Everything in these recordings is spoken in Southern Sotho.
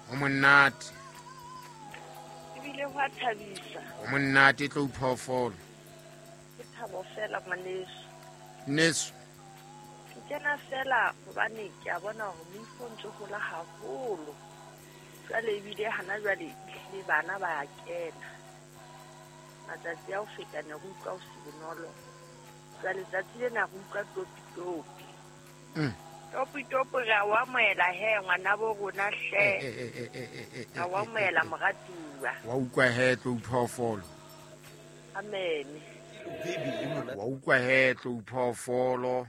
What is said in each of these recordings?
Ho monate. Ebile ho a thabisa. Ho monate tlou phoofolo. Ke thabo fela ngwaneso. Neso. Ke kena fela hobane ke a bona hore moifo o ntse hola haholo. Jwale ebile hana jwale ehlile bana ba a kena. Matsatsi a ho feta ne re utlwa ho se bonolo. Jwale tsatsi lena re utlwa topi topi. Topi topi re a o amohela he ngwanabo rona hle. Re a o amohela moratuwa. Wa utlwa he tlou phoofolo. Amen. Wa utlwa he tlou phoofolo.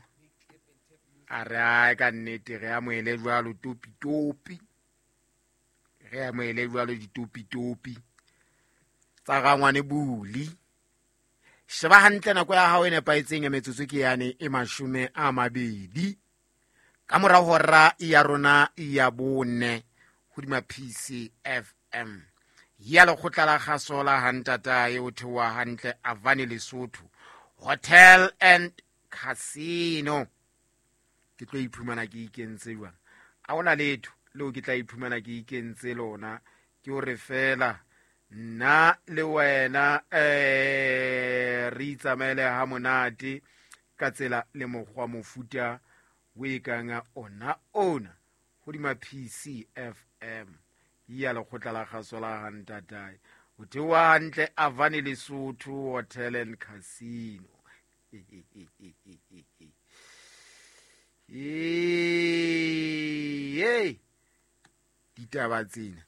A re ae ka nnete re amohele jwalo topi topi. Re amohele jwalo ditopi topi. Tsa rangwane buli. Sheba hantle nako ya hao e nepahetseng ya metsotso ke yane e 20. Ka mora hora ya rona ya 4 hodima PCFM. Ya lekgotla la kgaso la hantatae o theoha hantle Avani Lesotho Hotel and Casino. Ke tlo iphumana ke ikentse jwang? Ha hona letho leo ke tla iphumana ke ikentse lona. Ke hore fela nna le wena re itsamaele ha monate ka tsela le mokgwa mofuta o e kang ona ona hodima PCFM ya lekgotla la kgaso la hantatae. O theoha hantle Avani Lesotho Hotel and Casino. Ditaba tsena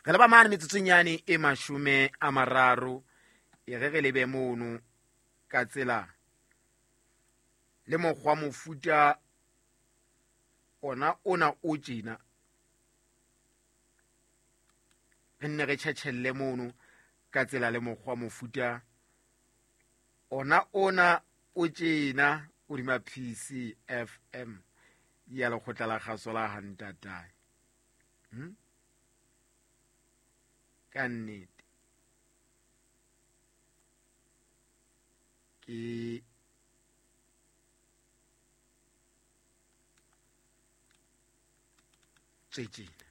re leba mane metsotsong yane e 30 e re re lebe mono ka tsela le mokgwa mofuta ona ona o tjena re nne re tjhetjhelle mono ka tsela le mokgwa mofuta ona ona o tjena hodima PCFM ya lekgotla la kgaso la hantatae. Ka nnete ke tswetseng.